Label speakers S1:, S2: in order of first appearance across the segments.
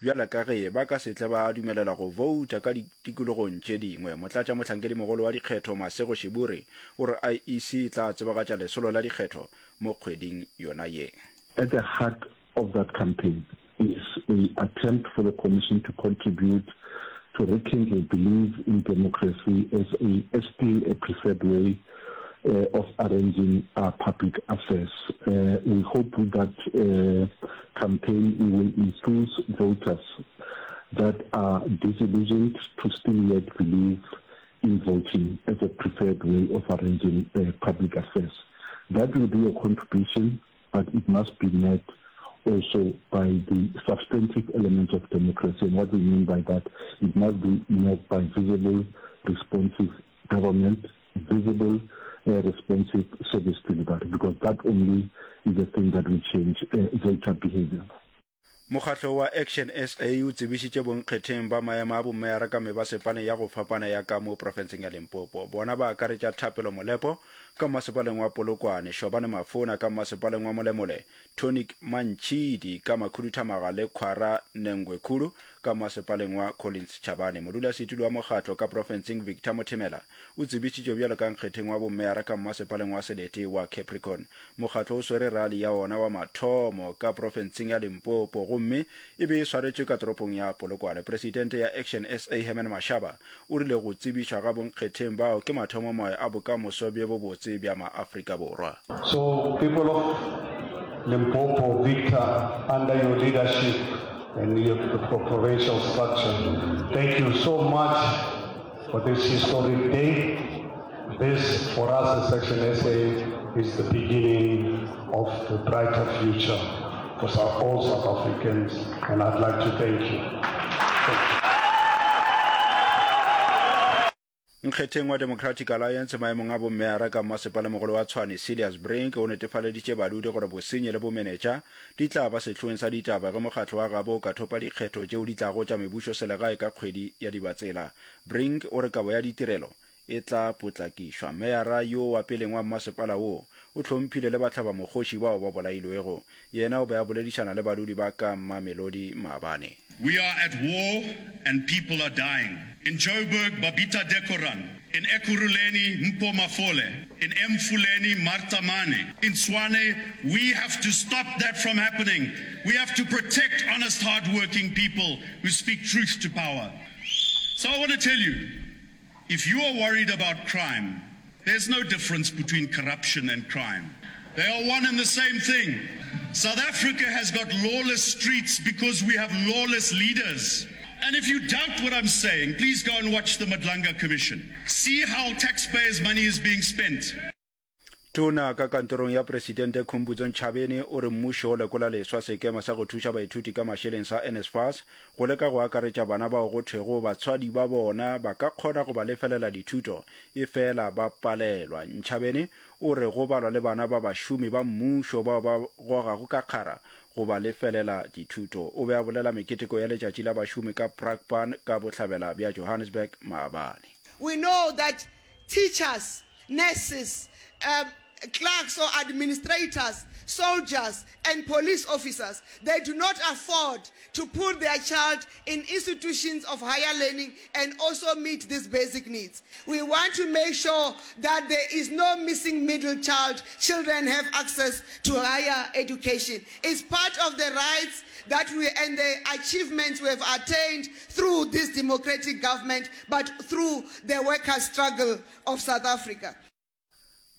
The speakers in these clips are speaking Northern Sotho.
S1: bjalo ka ge ba ka se tle ba dumelelwa go bouta ka ditikologong tše dingwe. Motlatšamohlankedimogolo wa dikgetho Masego Shiburi o re IEC e tla tsebagatša lesolo la dikgetho mo kgweding yona ye.
S2: At the heart of that campaign is a attempt for the Commission to contribute to rekindle belief in democracy as a as still a preferred way of arranging our public affairs. We hope with that campaign we will enthuse voters that are disillusioned to still yet believe in voting as a preferred way of arranging public affairs. That will be a contribution but it must be met also by the substantive elements of democracy. And what we mean by that, it must be met by visible, responsive government, visible, uh, responsive service delivery, because that only is the thing that will change uh, voter behavior.
S1: Mokgatlo wa Action SA o tsebišitše bonkgetheng ba maemo a bomeyara ka mebasepaleng ya go fapana ya ka mo profenseng ya Limpopo. Bona ba akaretša Thapelo Molepo ka mmasepaleng wa Polokwane, Shobane Mafona ka mmasepaleng wa Molemole, Tonic Mantšhidi ka Makhuduthamaga le Khwara Nengwekhulu ka mmasepaleng wa Collins Chabane. Modulasetulo wa mokgatlo ka profenseng Victor Mothemela o tsebišitšwe bjalo ka nkgetheng wa bomeyara ka mmasepaleng wa selete wa Capricorn. Mokgatlo o swere rali ya wona wa mathomo ka profenseng ya Limpopo gomme e be e swaretšwe ka toropong ya Polokwane. Presidente ya Action SA Herman Mashaba o rile go tsebišwa ga bonkgetheng bao ke mathomomoya a bokamoso bjo bobotse bja maAfrika Borwa.
S3: So people of Limpopo, Victor, under your leadership and your provincial structure, thank you so much for this historic day. This, for us as Section SA, is the beginning of the brighter future for all South Africans, and I'd like to thank you. Thank you.
S1: Nkgetheng wa Democratic Alliance maemong a bommeyara ka mmasepalemogolo wa Tshwane Cilliers Brink o netefaleditše badudi gore bosenyi le bomenetša di tla ba sehloeng sa ditaba ge mokgatlo wa gabo o ka thopa dikgetho tšeo di tlago tša mebušoselegae ka kgwedi ya Dibatsela. Brink o re kabo ya ditirelo e tla potlakišwa. Meyara yo wa peleng wa mmasepala wo o hlomphile le bahlabamokgoši bao ba bolailwego. Yena o be a boledišana le badudi ba ka Mamelodi maabane.
S4: We are at war and people are dying. In Joburg, Babita Dekoran. In Ekurhuleni, Mpho Mafole. In Emfuleni, Martha Mane. In Tshwane, we have to stop that from happening. We have to protect honest, hardworking people who speak truth to power. So I want to tell you, if you are worried about crime, there's no difference between corruption and crime. They are one and the same thing. South Africa has got lawless streets because we have lawless leaders. And if you doubt what I'm saying, please go and watch the Madlanga Commission. See how taxpayers' money is being spent.
S1: Tona ka kantorong ya Presidente Khumbudzo Ntshavheni o re mmušo o lekola leswa sekema sa go thuša baithuti ka mašeleng sa NSFAS go leka go akaretša bana bao go thwego batswadi ba bona ba ka kgona go ba lefelela dithuto efela ba palelwa. Ntshavheni o re go balwa le bana ba bašomi ba mmušo bao ba gogago ka kgara go ba lefelela dithuto. O be a bolela meketeko ya letšatši la bašomi ka Brakpan ka bohlabela bja Johannesburg maabane.
S5: We know that teachers, nurses, um, clerks or administrators, soldiers and police officers, they do not afford to put their child in institutions of higher learning and also meet these basic needs. We want to make sure that there is no missing middle child. Children have access to higher education. It's part of the rights that we and the achievements we have attained through this democratic government, but through the workers' struggle of South Africa.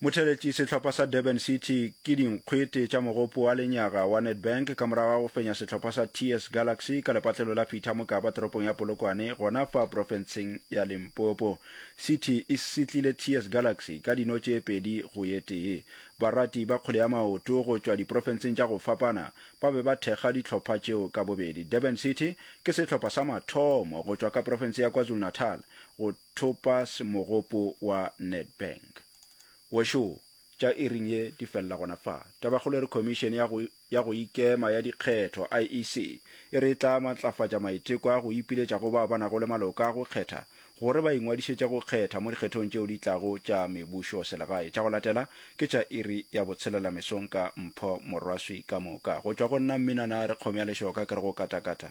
S1: Motheletši sehlopha sa Durban City ke dinkgwete tša mogopo wa lenyaga wa Nedbank ka morago ga go fenya sehlopha sa TS Galaxy ka lepatlelo la Peter Mokaba toropong ya Polokwane gona fa profenseng ya Limpopo. City e setlile TS Galaxy ka dino tše 2 go ye tee. Barati ba kgwele ya maoto go tšwa diprofenseng tša go fapana ba be ba thekga dihlopha tšeo ka bobedi. Durban City ke sehlopha sa mathomo go tšwa ka profense ya KwaZulu-Natal go thopa mogopo wa Nedbank. Wešo, tša iring ye di felela gona fa. Tabakgolo e re Khomišene ya go ya go Ikema ya Dikgetho, IEC, e re e tla matlafatša maiteko a go ipiletša go bao ba nago le maloka a go kgetha gore ba ingwadišetše go kgetha mo dikgethong tšeo di tlago tša mebušo selegae. Tša go latela ke tša iri ya botshelela mesong ka Mpho Morwaswi ka moka. Go tšwa go nna Mminana re kgomo ya lešoka ke re go katakata.